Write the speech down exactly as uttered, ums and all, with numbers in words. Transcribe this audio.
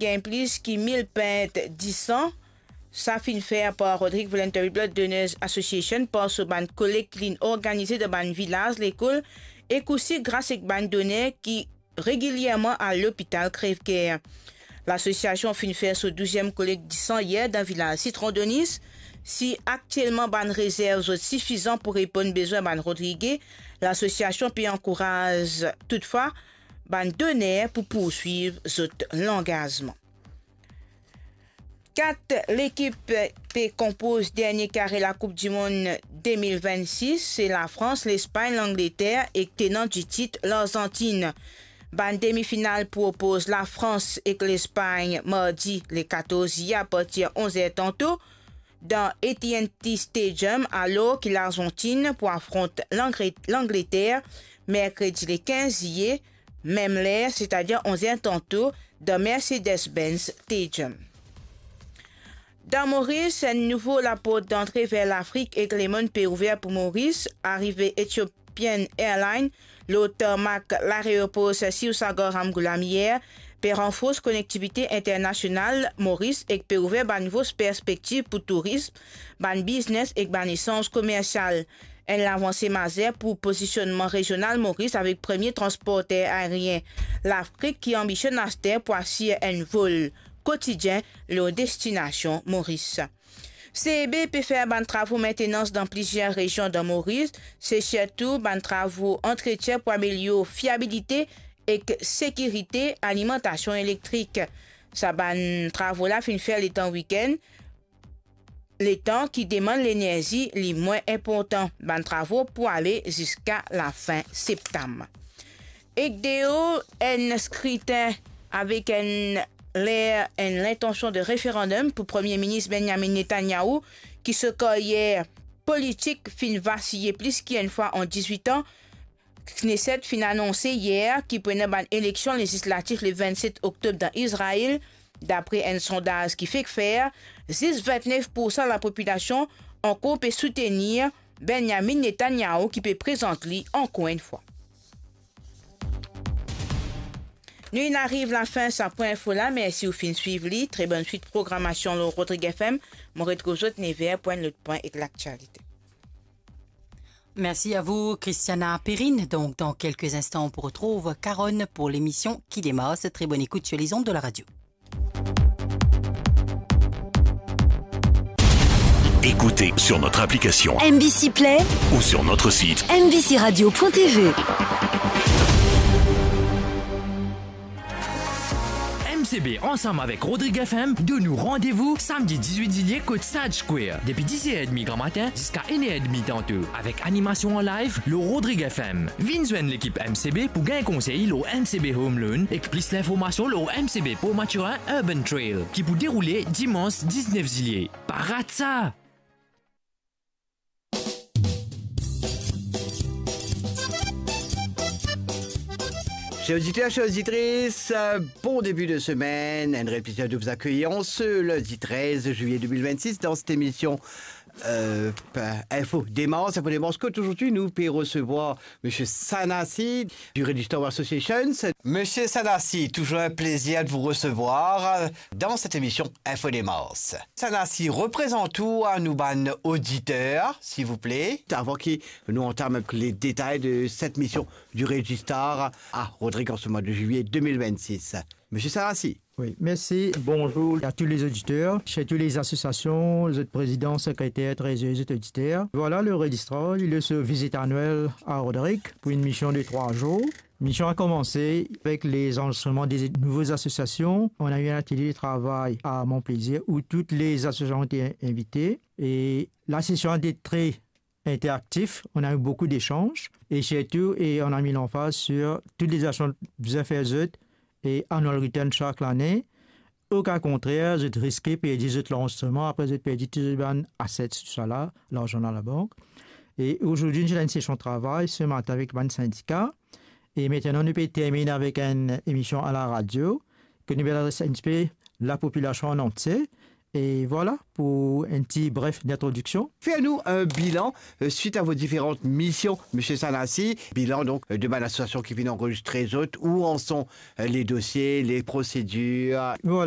gagn plis ki mil pint disan. Sa finn fer par Roderick Voluntary Blood Donors Association par so bann kolek ki linn organize dan bann vilaz, lekol ek osi gras ek bann doner ki regilierman al lopital krev ker. Lasosiasion finn fer so douziem kolek disan yer dan vilaz Sitron Donis. Si aktielman bann rezerv zot sifizan pou reponn bezwin bann Rodrige, lasosiasion pe ankouraz toutfwa bann doner pou pourswiv zot langazman. Kat lekip pe konpoz dernie kare Lakoup Dimond de mil vennsis, se Lafrans, Lespagn, Langleter ek tenan ditit Larzantin. Bann demifinal pou opoz Lafrans ek Lespagn mardi le katorz zilye apartir onz er tanto dan A T and T Stadium, alor ki Larzantin pou afront Langre-, Langleter merkredi le kinz zilye, mem ler, setadir onz er tanto, dan Mercedes-Benz Stadium. Dan Moris, enn nouvo laport dantre ver Lafrik ek lemonn pe ouver pou Moris. Arive Ethiopian Airlines lor tarmak lareopor Sir Sivasagar Ramgoolam yer pe ranfors konektivite internasional Moris ek pe ouver bann nouvo perspektiv pou tourism, bann biznes ek bann esanz komersial. Enn lavanse mazer pou pozisionnman rezional Moris avek premie transporter aerien Lafrik ki anbisionn aster pou asir enn vol kotidien lor destinasion Moris. C E B pe fer bann travo maintenans dan plizier rezion dan Moris, se sirtou bann travo antretien pou amelior fiabilite ek sekirite alimantasion elektrik. Sa bann travo la finn fer letan wikenn, letan ki demann lenerzi li mwin inportan. Bann travo pou ale ziska lafin septam. Ek deor enn skritin avek enn ler, enn lintansion de referandom pou Premie Minis Benjamin Netanyahu, ki so karyer politik finn vasiye plis ki enn fwa an dizwit an, Knesset finn anonse yer ki pou ena bann eleksion lezislatif le vennset oktob dan Izrael. Dapre enn sondaz ki fek fer, zis vintnef poursan lapopilasion ankor pe soutenir Benjamin Netanyahu ki pe prezant li ankor enn fwa. Nou inn ariv lafin sa pwin info la. Mersi ou finn swiv li. Tre bonn swit programasion lor Rodrig F M. Mo retrouv zot nev er pou enn lot pwin ek laktialite. Merci à vous, Christiana Perrine. Donc, dans quelques instants, on retrouve Caronne pour l'émission Qui démarre. Très bonne écoute sur les ondes de la radio. Écoutez sur notre application M B C Play ou sur notre site M B C radio point T V. M C B ansam avek Rodrig F M donn nou randevou samdi dizwit zilie kot Sage Square, depi dis er edmi gramatin ziska enn er edmi tanto, avek animasion an live lor Rodrig F M. Vinn zwenn lekip M C B pou gagn konsey lor M C B Home Loan ek plis linformasion lor M C B Port Mathurin Urban Trail ki pou deroule dimans diznef zilie. Pa rat sa! Cher auditeur, chère auditrice, euh, bon début de semaine. Un réel plaisir de vous accueillir en ce lundi treize juillet deux mille vingt-six dans cette émission, euh, Info Démarche. Info Démarche, kot zordi nou pe resevwar Monsieur Sanasi du Register Associations. Monsieur Sanasi, toujours un plaisir de vous recevoir dans cette émission Info Démarche. Sanasi, reprezant ou a nou bann oditer, silvouple. Avan ki nou antam les détails de cette mission du Registar à Rodrig en ce mois de juillet deux mille vingt-six. Monsieur Sanasi. Oui, merci. Bonjour à tous les auditeurs, chez toutes les associations, les autres présidents, secrétaires, trésoriers, les autres auditeurs. Voilà, le Registrar, il est sur visite annuelle à Rodrig pour une mission de trois jours. Mission a commencé avec les enregistrements des nouvelles associations. On a eu un atelier de travail à Mont Plaisir où toutes les associations ont été invitées. Et la session a été très interactif. On a eu beaucoup d'échanges. Et surtout, et on a mis l'emphase sur toutes les actions que vous faites, et annual return chaque année. Oka kontrer, zot riske perdi zot lanrezistreman, apre zot perdi tou zot bann assets, tousala, larzan dan labank. E zordi, nou ti ena enn sesion travay se matin avek bann sindika. E aster, nou pe termine avek enn emision a la radio, ke nou pe adres enn tipe lapopilasion an antie. E vwala pou enn ti bref introdiksion. Fer nou enn bilan euh, suit a vo diferan mision, Misie Sanasi. Bilan donk euh, de bann asosiasion ki finn anrezistre zot, ou anson euh, le dosie, le prosedir. Vwala,